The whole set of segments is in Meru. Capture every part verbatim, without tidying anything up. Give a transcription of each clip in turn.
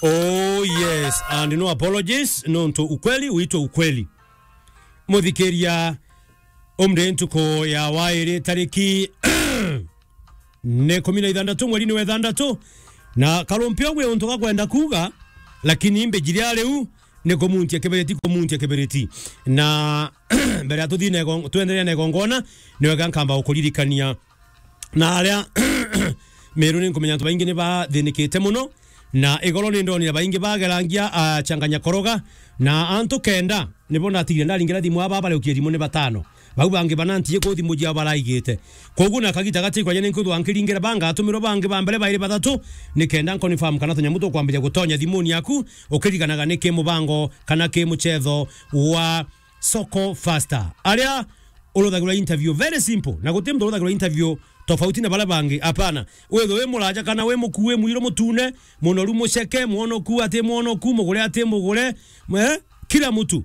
Oh yes, and no apologies, nontu ukweli uitwe ukweli. Muthikiria, umri ntuku ya wairi tariki ni kumi na ithandatu mweri ni wa ithandatu, na karumpio gwi untu gakwenda kuuga, lakini mbijiri a riu ni kumuntia kibiriti, kumuntia kibiriti. Na mbere ya tuthii na igo-, twenderea na igongona, ni wega nkamba gukuririkania na aria Meru ni nkumenya antu baingi ni bathinikite muno, na igoro ni ndonire baingi bagerangia, ah, changanya koroga, na antu kenda nibo ndatigire ndaringira thimu aba bariukie thimu ni batano. Bau bangi bana ntiye ku thimu jiao baraigite. Koguo na kagita gati kwaja ni nkwithwa nkiringira banga atumirwa bangi ba mbere bairi bathatu, ni kenda nconfirm kana tunyamu tukwambiria gutonya thimuni yaku, ukiriganaga ni ki mubango kana ki muchetho wa Soko Faster. Aria uruthagirwa interview very simple, na guti muntu uruthagirwa interview tofauti na baria bangi. Hapana. Withwe wi muraja kana wi mukuu, wi mwiru mutune, munoru muceke, mwonoku ati mwonoku, mugure ati mugure, eh? Kila mtu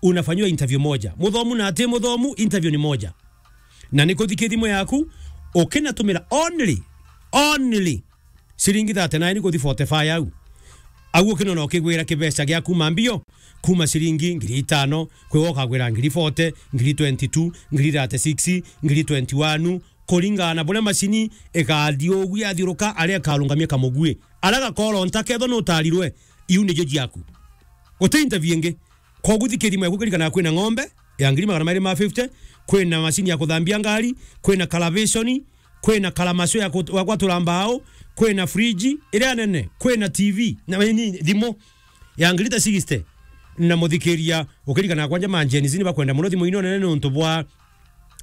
unafanyiwa interview moja. Muthomu na ati muthomu, interview ni moja. Na ni kuthiki thimu yaku, ukinatumira only, only ciringi thirty-nine kuthi forty-five au. Au ukinona ukigwira kibeca gia kuma mbio, kuma ciringi ngiri itano, kwi wokagwira ngiri forty, ngiri twenty-two, ngiri thirty-six, ngiri twenty-one, kuringana na buria macini ikathi ugu yathiuruka, aria ikarungamia kamugui. Aria gakoronta kethwa nutarirwe, iu nijo jiaku. Guti interview ingi. Koguo thikiria thimu yaku, kirikana kwina ng'ombe ya ngiri magana mairi ma fifty, kwina macini ya kuthambia ngari, kwina kalavishoni, kwina kalamasho ya kut-, ya kwatura mbao, kwina fridge iria nene, kwina T V, na ni thimu ya ngiri ta sixty. Na muthikiria, ukirikana kwanja ma Gen Z ni bakwenda muno thimu ino nene nontu bwa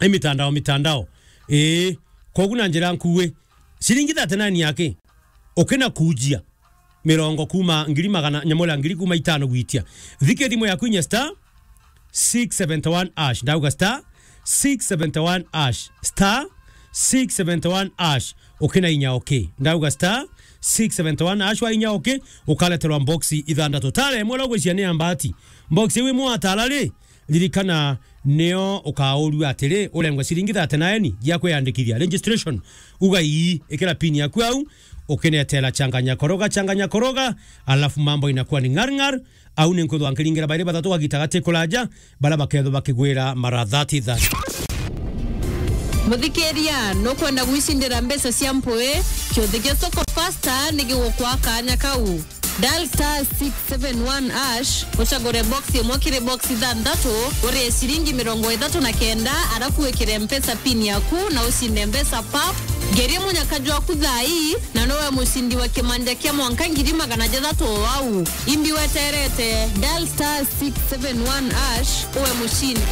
imitandao, mitandao. Ii, koguo na njira nkui, ciringi thirty-nine yake, ukina kujia mirongo kuma ngiri magana, nyamura ngiri kuma itano gwitia. Thikia thimu yaku inya star six seventy one hash. Ndauga star six seventy one hash. Star six seventy one hash. Ukina inya okay. Ndauga star six seventy one hash, wa inya okay, ukaleterwa boxi ithandatu. Tara imwe uria ugwiciria ni ya mbati. Boxi iu imwe watara ri, ririkana, nio ukaurua atiri, urengwe ciringi thirty-nine gia kwiyandikithia, registration. Uga ii, ikira pin yaku au, ukinetera changanya koroga, changanya koroga, alafu mambo inakuwa ni ngar ngar. Au ni nkwithwa nkiringira bairi bathatu kagita gati kuraja, baria bakethwa bakigwira mara thirty thirty. Muthikiria, nukwenda gwicindira mbeca cia mpui? Kiuthi gia Soko Faster ni gigukwa kanya kau. Dial star six seven one hash, ucagure box imwe kiri box ithanthatu, urie ciringi mirongo ithatu na kenda, arafu wikire Mpesa pin yaku na ucinde mbeca pap. Ngeria munyaka jwaku thaa ii, na nowe mucindi wa kimanja kia mwanka ngiri magana jathatu o au. Imbi weterete, dial star six seven one hash, uwe mucindi.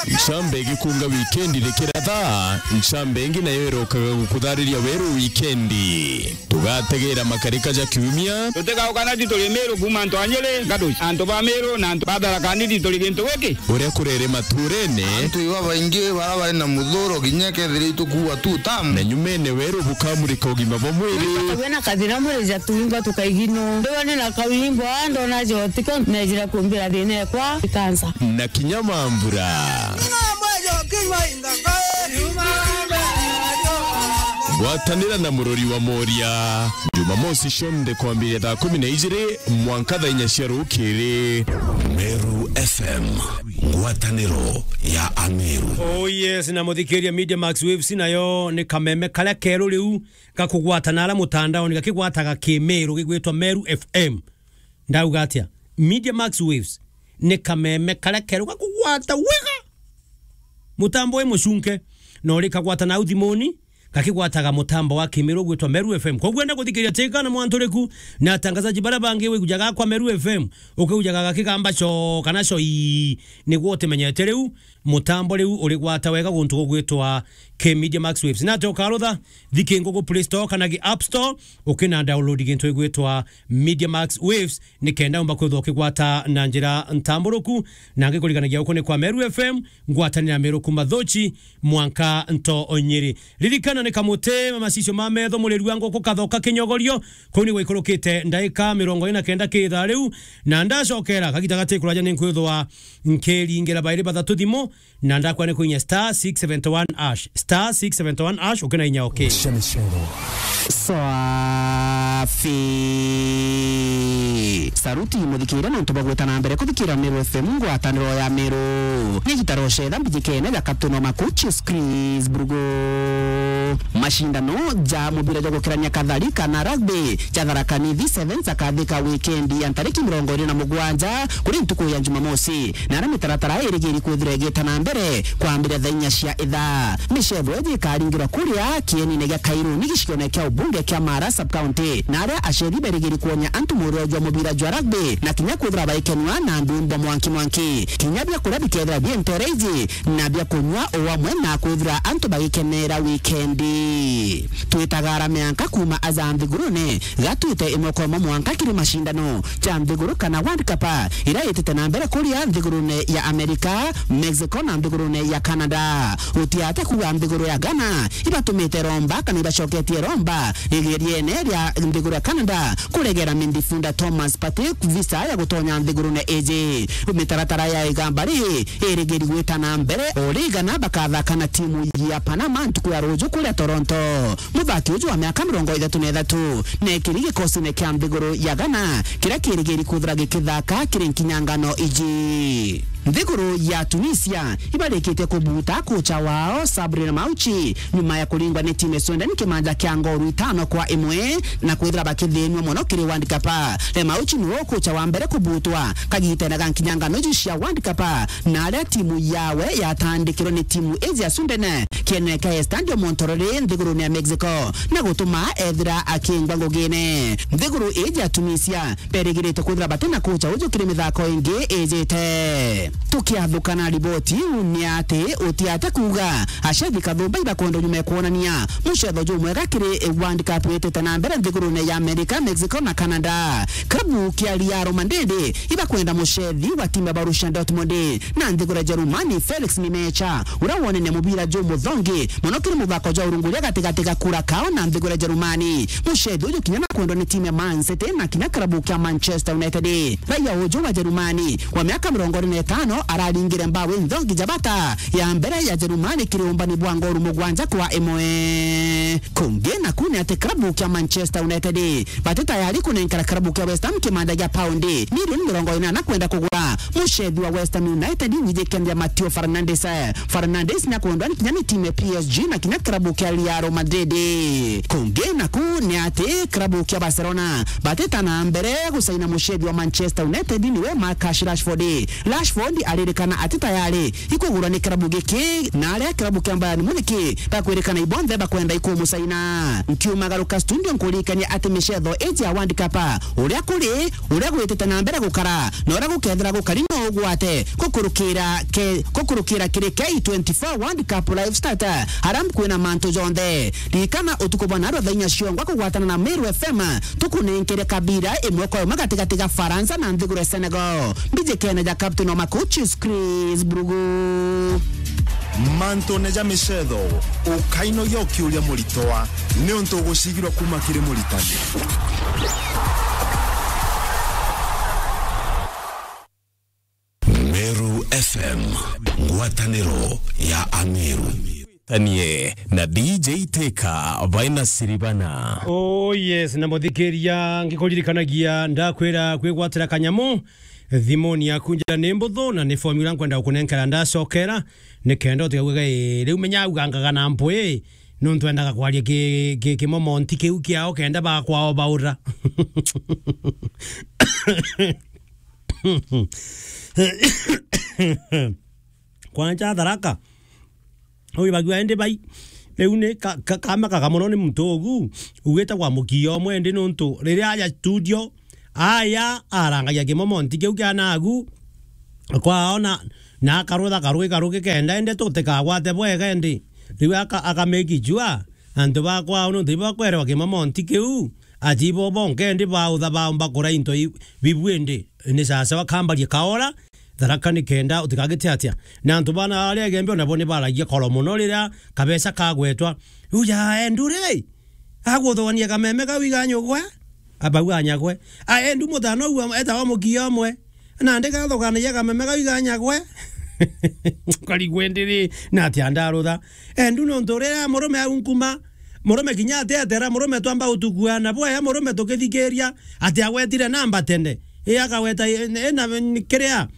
Ncambe igikunga wikendi rikiratha, ncambe ingi nayo irokaga gukuthariria weru wikendi. Tugategera makarika ja kiumia. Tutigauka nati turi Meru kuma antu a Nyeri, Gaduci, antu ba Meru na antu ba Tharaka Nithi turi gintu giki. Uria kurere maturene. Antu iba baingi bara bari na muthuro kinya kethira itukuwa tu tam. Na nyumene weru bukamurika ugima bwa mwiri. Tukagua na kathina mwiri ja tuingwa tukaigino. Ndiwa ni na kawimbo, ndona jotiko, nejira kumbira thina ekwa ikansa. Na kinya mambura. Gwatanira na murori wa Moria. Jumamosi cionthe kwambiria thaa kumi na ijiri mwanka thaa inya cia rukiri. Meru F M, ngwataniro ya Ameru. Oh yes, na muthikiria, Media Max Waves nayo ni kameme karia keru riu gakugwata na aria mutandaoni gakigwataga kimeru gigwitwa Meru F M. Ndauga atia? Media Max Waves ni kameme karia keru gakugwata wega. Mutambo wi mucunke, no rikagwata nau thimuni, gakigwataga mutambo wa kimeru gwitwa Meru F M. Koguo enda guthikiria tika na mwanturiku na atangazaji baria bangi wigujaga kwa Meru F M, ukiujaga gakigamba co kana co ii, niguo utimenyete riu mutambo riu urigwata wega guntu gugwitwa K Media Max Waves. Na ati ukarutha, thiki ngugu Play Store kana gi App Store, ukina download gintu gigwitwa Media Max Waves, ni kenda umba kwithwa ukigwata na njira ntamburuku, na ngikuriganagia uku ni kwa Meru F M, ngwatanira Meru kuma Thochi mwanka nto Nyeri. Ririkana ni kamuti macicio ma metho, muriri wa nguku kathoka kinyogorio, kuu ni gwaikurukite ndaika mirongo ina na kenda ki ithaa riu, na ndacokera kagita gati kuraja ni nkwithwa nkiringira bairi bathatu thimu, na ndakwira ni kuinya star six seventy one hash, star six seventy one hash, ukina inya okay. Cia micoro. Swafi. Saruti muthikire nontu bwa gwita na mbere kuthikira Meru F M, ngwataniro ya Meru. Ni gitaro cetha mbijikene ja Captain wa Makuchi, Chris Brugo. Mashindano ja mubira jwa gukirania kathari kana rugby ja Tharaka Nithi Sevens akathika wikendi ya ntariki mirongo iri na mugwanja kuri ntuku ya Jumamosi, na aria mitaratara irigiri kwithira igita na mbere kwambira thaa inya cia ithaa. Micetho iji ikaringirwa kuria kienine gia Kairuni gicione kia ubunge kia Mara sub county, na aria aceri berigiri kwonia antu murio jwa mubira jwa rugby na kinya kwithira baikenua na ndwimbo mwanki mwanki. Kinya biakuria bikethira bi ntere iji na bia kunyua o amwe na kwithira antu bagikenera wikendi. Twitaga arama anka kuuma aja nthigurune, gatwite imwe kwa imwe mwanka kiri mashindano ja nthiguru kana World Cup, iria itite na mbere kuria nthigurune ya Amerika, Mexico na nthigurune ya Canada. Gutiate kuuga nthiguru ya Ghana ibatumite romba kana ibacoketie romba igeriene ria nthiguru ya Canada kuregera midfielder Thomas Partey visa ya gutonya nthigurune iji. Mitaratara ya igamba ri irigiri gwita na mbere, o ri Ghana bakathaka na timu ya Panama ntuku ya ruju kuria Toronto. Muthaki uju wa miaka mirongo ithatu na ithatu nekiri gikosine kia nthiguru ya Ghana, kiria kirigiri kwithira gikithaka kiri nkinyangano iji. Nthiguru ya Tunisia ibarikitie kubuta kocha wao Sabri Lamouchi nyuma ya kuringwa ni timu ya Sweden kimanja kia ngoru itano kwa imwe na kwithira bakithinua mono kiri World Cup. Lamouchi niwe kocha wa mbere kubutwa kagitene ga nkinyangano iji cia World Cup, na aria timu yawe yatandikirwe ni timu iji ya Sweden kienene kia Estadio Monterrey nthigurune ya Mexico, na gutuma ethira akingwa ngugine. Nthiguru iji ya Tunisia berigirite kwithira bati na kocha uju kiri mithako ingi ijite. Tukiathuka na riboti iu ni ati utiate kuuga aceri kathumba ibakwenda nyuma ya kwonania mucetho jumwega kiri World Cup itite na mbere nthigurune ya Amerika, Mexico na Canada. Klabu kia Real Madrid ibakwenda mucethi wa timu ya Borussia Dortmund na nthiguru ya Jerumani, Felix Nmecha, uria wonene mubira jumuthongi mono kiri muthako jwa urunguria gatigati ga Curacao na nthiguru ya Jerumani. Mucethi uju kinya nakwendwa ni timu ya Man City na kinya klabu kia Manchester United. Raia uju wa Jerumani wa miaka mirongo iri na itano araringire mbao inthongi ja bata ya mbere ya Jerumani kiri umbani bwa ngoru mugwanja kwa imwe. Kungi naku ni ati klabu kia Manchester United bati tayari kunenkera klabu kia West Ham kimanda gia paundi milioni mirongo inana kwenda kugura mucethi wa West Ham United, wijikendia Mateo Fernandes. Fernandes nakwendwa ni kinya ni timu ya P S G na kinya klabu kia Real Madrid. Kungi naku ni ati klabu kia Barcelona batita na mbere gucaina mucethi wa Manchester United, niwe Marcus Rashford. Rashford aririkana ati tayari ikugurwa ni klabu giki, na aria klabu kia Bayern Munich bakwirikana ibonthe bakwenda ikumucaina. Nkiumagaruka studio nkuririkania ati micetho iji ya World Cup, uria kuri, uria gwitite na mbere gukara, na uria gukethira gukari no ugwate gukurukira ke-, gukurukira kiri K twenty-four World Cup live start, aria kwina mantu jonthe. Ririkana utuku bwa narua thaa inya ciongwa kugwatana na Meru F M, tukunenkere kabira imwe kwa imwe gatigati ga Faransa na nthiguru ya Senegal. Mbijikene ja captain wa Makuchis, Chris Brugu. Mantune ja micetho, ukainogia ukiuria muritwa, niuntu ugucigirwa kuma kiri muritani. Meru F M, ngwataniro ya Ameru. Tanie na D J Teka baina siribana. Oh yes, na muthikiria, ngikuririkanagia ndakwira kwigwatira kanyamu thimuni yaku njira ni mbuthu, na ni formula nkwenda gukunenkera ndacokera, ni kenda utigague gai riu menya ugangaga na mpwi, nuntu endaga kwaria ki, ki, kimomonti kiu kiao kenda bakwao baura. Kwanja Tharaka. Ui bagua indi bai. Riu ni ka, ka, kamakaga mono ni muntu ugu ugite kwa mukia umwe indi nuntu riria aja studio, aya arangagia kimomonti kiu kia nagu kwaona na akarutha karugi karugi kenda indi tutikagwate bwega indi. Riu aka, aka make sure antu ba kwao nuntu ibo bakwerewa kimomonti kiu, ati ibo bonke indi bautha baumba kura into i, bibu indi. Ni sasawa kambarie kaora, Tharaka ni kenda utikagite atia. Na antu bana aria egembe onabo ni baragia koro mono riria kabesa kagwetwa. Uja endu ri, aguthogania kameme kau iganyugwe, abau anyagwe. A endu mutano ua etawa mukia umwe. Nandi gathoganagia kameme kau iganyagwe. Nkarigwa indi ri, na atia ndarutha. Endu nontu riria murume au nkuma, murume kinya atetera, murume twamba utukuana bwaya, murume tukithikiria, ati agwetire namba tene. I akagweta i, i na kiria,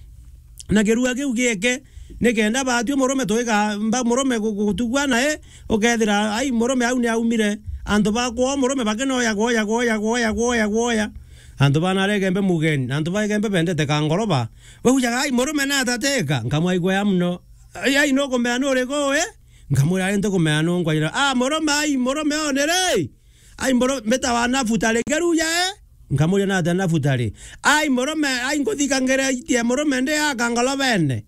na kirua kiu gieke, nikenda batwi murume twika mba murume gu-, gutukua nae, ukethira, ai, murume au ni aumire. Antu ba kwao murume bakinoya, gwoya, gwoya, gwoya, gwoya, gwoya. Antu bana aregembe mugeni, antu baegembe bendete kangoroba. Baujaga, "Ai, murume natateka." Nkamwaigua ya muno. "Ai, ai, nukumea nuriku, eh?" Nkamwira, "Ai, ntikumea nungwa." "Ah, murume, ai, murume one ri?" Ai, mboro, mbita wa Nafutali, ngeruja, eh? Nkamuria, "Natia Nafutali?" "Ai, murume, ai, nkuthikangiritie murume ndi aka ngolobene."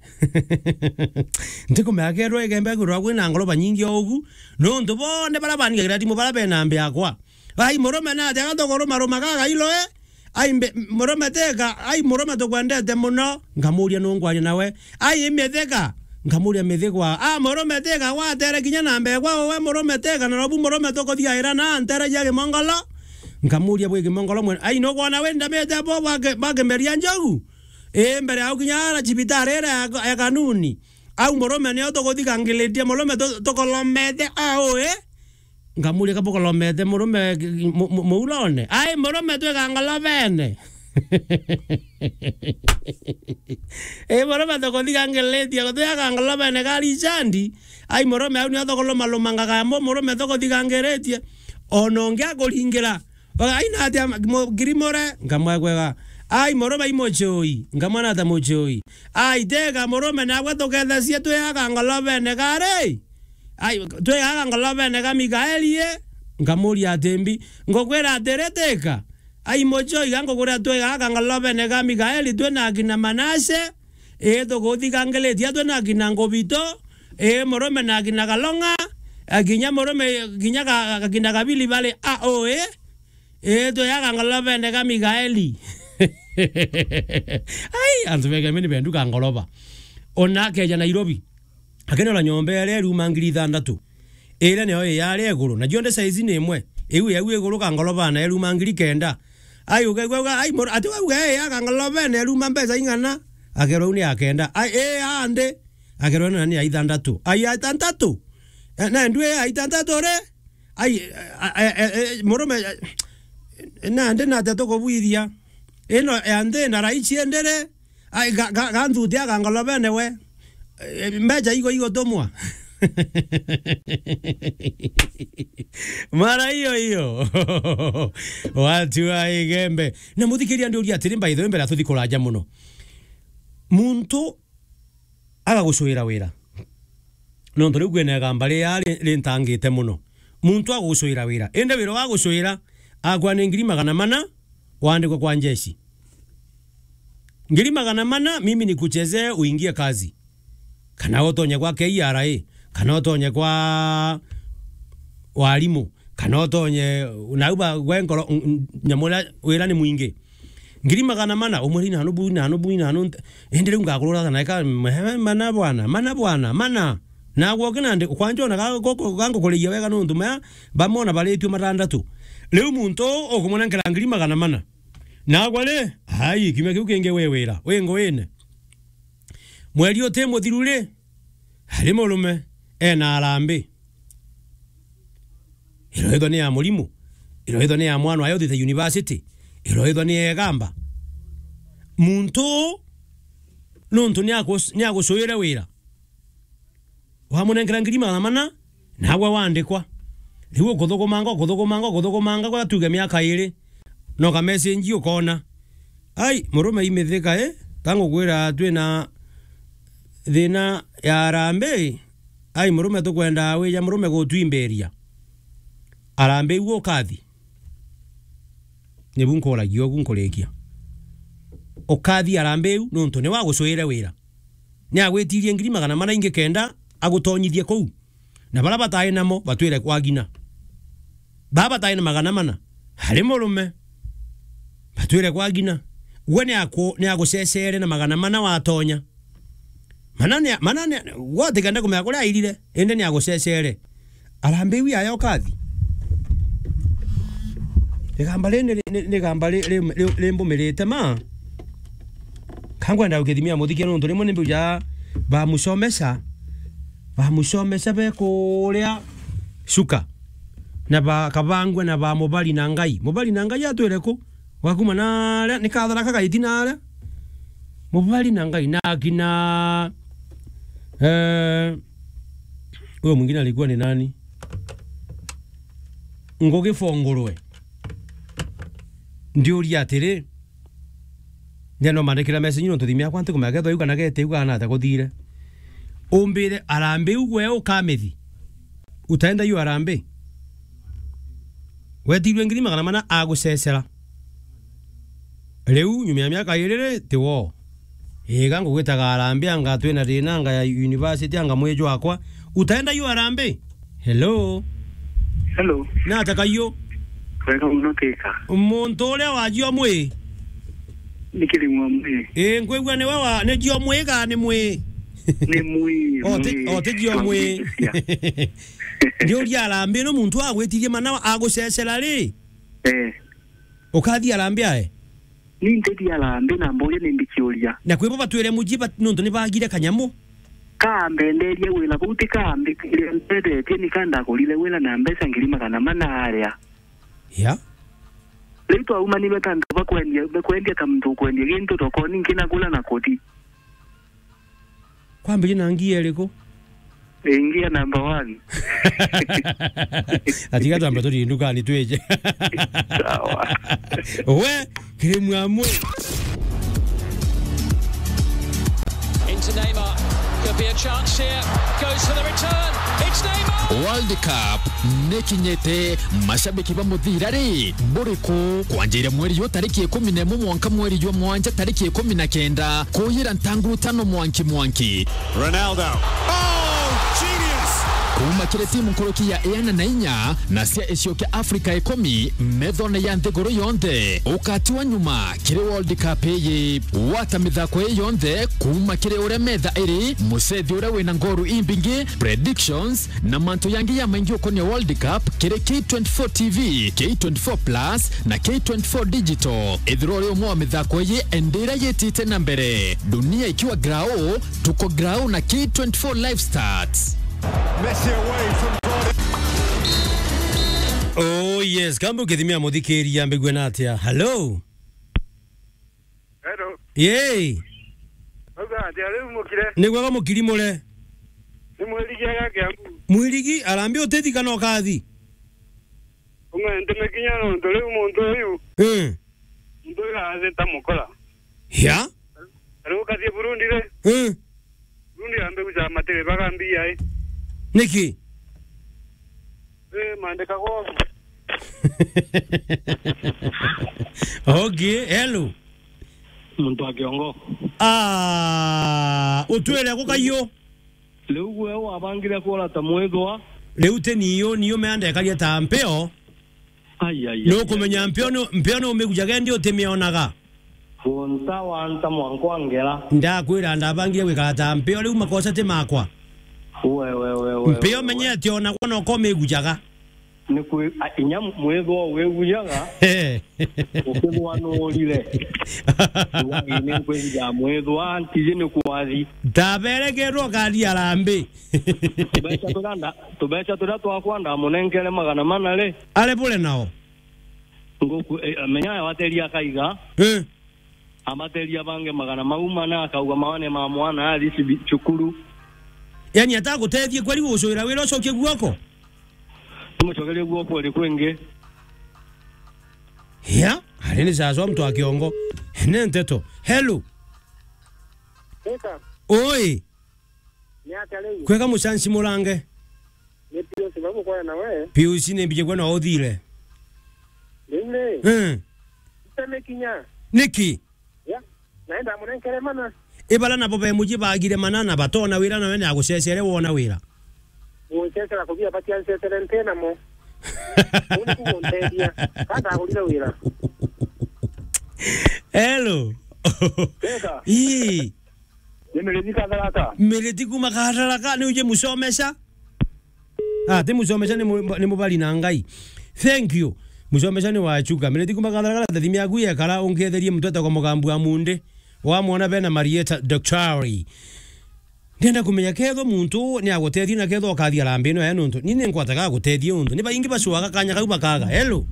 Ntikumea kerwa igembe kwithirwa kwina ngoloba nyingi o ugu, nontu bonthe baria banigagirira thimu baria bena mbi yakwa. "Ai, murume, natia gatukurumaruma gagailo, eh? Ai, mbe-, murume teka, ai, murume tukwendete muno." Nkamuria, "Nungwaria nawe?" "Ai, i mithika." Nkamuria, "Mithikwa?" "Ah, murume teka gwatere kinya na mbere kwa uwe murume teka, na nobu murume tukuthiaira na ntere cia gimongolo." Nkamuria, "Bwi gimongolo mwene?" "Ai, nukwona wi ndamite bo bwa ki-, bwa kimeria njogu? Ii, mbere au kinya ara cibitari iria ya, ya kanuni. Au murume nio tukuthikangiritie, murume tu-, tukolomete au, ii?" Nkamuria, "Kabukolomete murume mu-, mu-, muulone?" "Ai, murume twika ngolobene." "Ii, murume tukuthikangiritie, gutwika ngolobene kari icandi." Ai, murume au nio tukuluma-lumangaga mo, murume tukuthikangiritie. Ona ungi akuringira. Oga, "Ai, natia mu-, ngirimure?" Nkamwegwega. "Ai, murume i mucui." Nkamwira, "Natia mucui?" "Ai, teka murume, nagwe tukethesie twi aka ngolobene kari?" Ai, twi aka ngolobene ga Mikaeli, i? Nkamuria ati mbi, ngukwira atiri, teka. Ai, mucui, iga ngukwira twi aka ngolobene ga Mikaeli, twi na akina Manase, i, tukuthikangiritie twi na akina Ngubito, i, murume na akina Kalonga, a, kinya murume, kinya ka, akina Kabili bari a, o, i? Ii, twi aka ngolobene ga Mikaeli. Ai, antu begembe ni bendu ka ngoloba. Ona akeja Nairobi, akenora nyomba iria iruma ngiri ithandatu. Iria niyo iyari iguru, na cionthe size ni imwe. Iu yau iguru ka ngolobana iruma ngiri kenda. Ai, ukaigua uga, ai, mur-, ati wauga, "Ii, aka ngolobene iruma mbeca ing'ana?" Akerwa, "Iu ni ya kenda." "Ai, ii, aa ndi?" Akerwa, "Ino ni ya ithandatu." "Ai, ya ithandatu? Eh, na ndu ii ya ithandatu ri?" Ai, a, a, a, a, murume, a, nandi natia tukubwithia? Ino ya nthi na raichi endere? Ai, ga, ga, ga nthuti aga ngolobene we. E, mbeca igo igotumwa. Mara iyo iyo. Watu wa Igembe. Na muthikiria ndiuria atiri, by the way, mbere atuthi kuraja muno. Muntu agagucuira wira. Nontu riu kwina igamba ria ri-, rintangite muno. Muntu agucuira wira. Indi wira wa gucuira, akwa ni ngiri magana mana, wandikwe kwa njeshi. Ngiri magana mana, mimi nikuchezee uingie kazi. Kana utonye kwa K R A, kana utonye kwa warimu, kana utonye, nau ba, gwe nkoro, n-, n-, nyamu iria wira ni mwingi. Ngiri magana mana, umwire inanu bu, inanu bu, inanu nte-, indi riu ngakurura ata naika, mana bwana, mana bwana, mana. Nagwe uki nandi, kwanja ona ga, ga, ga ngukureia wega nontu maya, bamwe ona baritue matandatu. Riu muntu uu ukumwenenkera ngiri magana mana. Nagwe ri, ai, kiumia kiu kingi wi wira, wi nguine. Mweri uti muthiru ri, ari murume, ena arambi. Iroithwa ni ya murimu, iroithwa ni ya mwana wayo uthite university, iroithwa ni ya igamba. Muntu uu, nontu ni akus-, ni agucuire wira. Wamunenkera ngiri magana mana, nagwe wandikwa. Riu ukuthukumanga, ukuthukumanga, ukuthukumanga, kwa tuge miaka iri. No ka message ukona. Ai, murume imithika, eh? Ta ngukwira twina thina ya arambi. Ai, murume tukwenda wija murume gutwimbiria. Arambi iu ukathi. Nibu nkuragia ugu nkurikia. Ukathi arambi iu nontu ni wagucuire wira. Ni agwitirie ngiri magana mana ingi kenda agutonyithie kuu. Na bara batai namo batwire kwa ngina. Baa batai na magana mana, ari murume, batwire kwa ngina. Gwe ni aku-, ni agucecere na magana mana watonya. Mana ni, mana ni, gwe utikenda kumenya kuria airire, indi ni agucecere. Arambi iu yaya ukathi. Igamba ri ni, ni, ni igamba ri, ri, ri, rimbumirite ma. Ka nkwenda gukithimia muthikia nontu rimwe ni mbuja Bamucomesha, bamucomesha be kuria Chuka, na bakabangua na ba Mubari na Ngai. Mubari na Ngai atwire ku? Wakuma naria, ni Kathara kagaiti naria. Mubari na Ngai na akina, eh, huyo mwingine alikuwa ni nani? Ngugi Fongorwe. Ndiuria atiri, Ndienda umandikira message nontu thimi yakwa ntikumenya kethwa iu kana gete iu kana ata kuthire. Umbire arambi iu gwe ukamithi. Utaenda yu arambi. Wetirwe ngiri magana mana agucecera. Riu nyuma ya miaka iri ri, ti wo. Iga ngugwitaga arambi anga twina thina anga ya university anga mwiju wakwa. Utaenda yu arambi. Hello. Hello. Nata kayo? Kwega muno kika. Muntu uria wajio mwi? Ni Kirimu wa Mwi. Ii, nkwigua niwe wa, ni jio mwi ga ni mwi? Ni Mwi. O ti, Mwi. O ti jio mwi. Twamwitikia. Ndiuria arambi no muntu agwitirie mana agucecera ri? Eh. Ukathi arambi ae? Ni ntethia arambi na mboria ni mbikiuria. Na kwibo batwire muji bat-, nontu ni bagire kanyamu. Kambenderia wira bau ti kambi kiria ntethetie ni kandagurire wira na mbeca ngiri magana mana aria. Ya. Riu twaumanirwe ta antu bakwendia, bakwendia ta muntu ukwendia gintu thokoni nkinagura na kuthi. Kwambirie na ngia iriku? Ingia number one. Atiga twambe tuthii ndukani twije. Sawa. We, kiri mwamu. Into Neymar. Could be a chance here. Goes for the return. It's Neymar. World Cup nikinyite, mashabiki ba muthira ri, buriku? Kwanjira mweri yu tariki ikumi na imwe mwanka mweri jwa mwanja tariki ikumi na kenda, kuyira ntanguru tano mwanki mwanki. Ronaldo. Oh, genius! Kuuma kiri timu nkuruki ya iana na inya na cia icio kia Afrika ikumi, methone ya nthiguru yonthe, ukatiwa nyuma kiri World Cup iyi. Wata mithako ii yonthe kuuma kiri uria metha iri, mucethi uria wina ngoru imbingi, predictions, na mantu yangi ya maingi ukonia World Cup kiri K twenty-four T V, K twenty-four Plus, na K twenty-four Digital. Ithirwa uri umwe wa mithako iyi, endera yitite na mbere. Dunia ikiwa grau, tuko grau na K twenty-four Live Stats. Messi away from Oh yes, kambe ukithimia muthikiria mbigue na atia. Hello. Hello. Yee. Uga atia riu mukire? Ni gwega mukiri mure. Ni mwirigi aga Kiambu. Mwirigi, arambi utithi kana ukathi? Umwe ntume kinya nontu riu muntu uyu. Eh. Muntu uyu athita mukora. Ya? Riu ukathie Burundi ri? Eh. Burundi ambe guca matiri baga mbia i. Niki? Eh, mandika gwa. Okay, hello. Muntu wa kiongo. Ah, utwire gukayo. Riu gwe wabangire kuora ta mwithwa. Riu ti niyo, niyo meandekaria ta mpeo. Ai, ai, ai, Nukumenya ai, ai. Mpeo ni, mpeo ni umigujaga ndi utimionaga. Gunta wanta mwanka wa ngera. Ndakwira ndabangire gwikara ta mpeo, riu makosa ti makwa. We, we, we, we, Mpeo we, we. Menyete ona kwona ukomigujaga. Ni kwi-, a, inya mwithwa wigujaga, Eh. Ukithwa nuurire. Uga, "Ii, ni nkwinja mwithwa, ntiji ni kwathi." Ndaberegerwo ngari arambi. Tubeca turia nda-, tubeca turia twakwa ndamunenkere magana mana ri? Ari bure nao? Nguku, eh, menya wateria akaiga. Eh. Amateria bange magana mau mana, akauga maone ma mwana athi cibi-, cukuru. Yani atagutethie kweri gucuira wira ucokie guoko? Tumucokerie guoko ri kwingi. Ya, ari ni sasa mtu wa kiongo. Ene nteto. Hello. Eka. Oi. Ni atia riu? Kwega mucanci murange. Ni Pius, bau gukwaya nawe. Pius, ni mbije kwona uthire. Riu ri? Eh. Iteme kinya. Niki? Ya. Naenda munenkere mana. Ibara nabo be muji bagire mana na batona wira nawe ni agucecere wona wira. Gucecera kubia batia ncecere nte namo. Uni kugunteria. Kanda agurire wira. Hello. Eka. Ii. Ni Miriti Katharaka. Miriti kuma Katharaka, ni uje mucomesha? Ah, ti mucomesha, ni mu-, ni mubari na Ngai. Thank you. Mucomesha ni wa Chuka. Miriti kuma Katharaka, thimi yaku yekara, unketherie mutwe ta kwa mugambu wa munde. Wamwona bena Marieta Daktari. Ndienda kumenya kethwa muntu ni agutethia na kethwa ukathia harambee ino ya nuntu. Ni ni nkwataga agutethia untu. Ni baingi bacuaga kanya kau bakaga. Hello?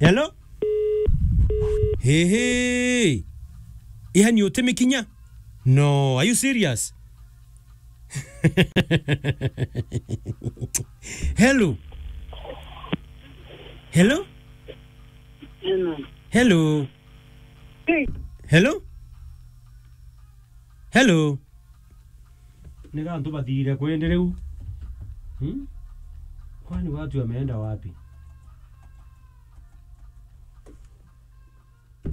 Hello? Hey, hey. Iha ni utimikinya? No, are you serious? Hello? Hello? Hello? Hello? Hello? Ni gantu bathire kwende riu. Hmm? Kwani watu wameenda wapi?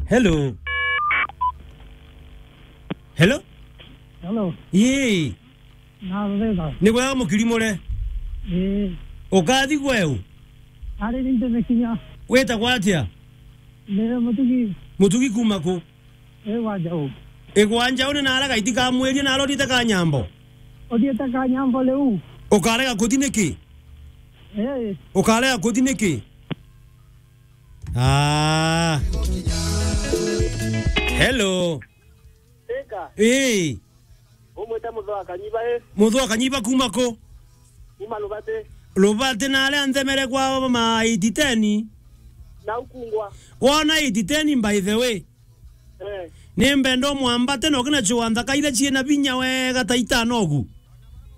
Hello? Hello? Hello. Ii. Na thega. Ni kwega mukirimure? Ii. Ukathi gweu? Ari ni ntemekinya. Witagwa atia? Ni Mutugi. Mutugi kuma ku? Igwa Njau. Igwa Njau ni nara gaiti kamwirie nara uthiite Kanyambo? Uthiite Kanyambo riu. Ukarega kuthi niki? Ii. Ukarega kuthi niki? Ah. Hello. Ika. Ii. Umwite Muthu wa Kanyiba, ii. Muthu wa Kanyiba kuma ku? Kuma Lubati. Lubati na aria nthemere kwa ma eight ten. Na ukungwa. Wona eight ten by the way. Eh. Ni mbenda umwambate na ukina chua nthaka iria ciina binya wega ta itano ugu.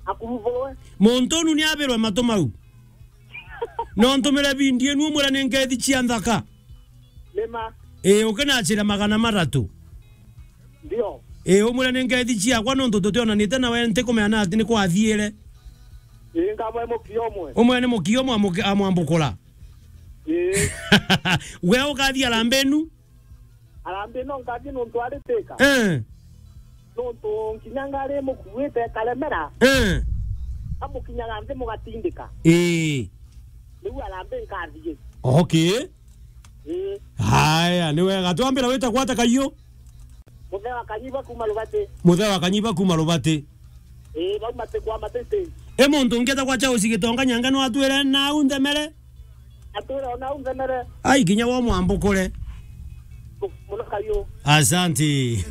Akuruvurwe. Muntu unu ni abirwe matu mau. No ntumire video inu umwire ni ngethi cia nthaka. Nima. Ii, ukinachira magana mathatu. Ndio. Ii, umwire ni ngethi ciakwa nontu tutionanite nawe ntikumenya na ati ni kwathiire. Ii, nkamwe mukia umwe. Umwe ni mukia umwe amuki-, amwambukura. Ii. We ukathi harambee inu? Harambee no nkathi nontu ari Thika. Eh. Nontu nkinya ngari mukuite karemera. Eh. Amukinyaga nthi mugatindika. Ii. Niu harambee nkathie. Okay. Ii. Haya, ni wega. Twambira witagwa atia kaiyu? Muthee wa Kanyiba kuma Lubati. Muthee wa Kanyiba kuma Lubati. Ii, bau matikwama tete. E muntu ungi etagwa Charles Gitonga Nyange no atwire nau nthemere? Atwire o nau nthemere. Ai, kinya wo mwambukure. Muno kaiyu. Asante.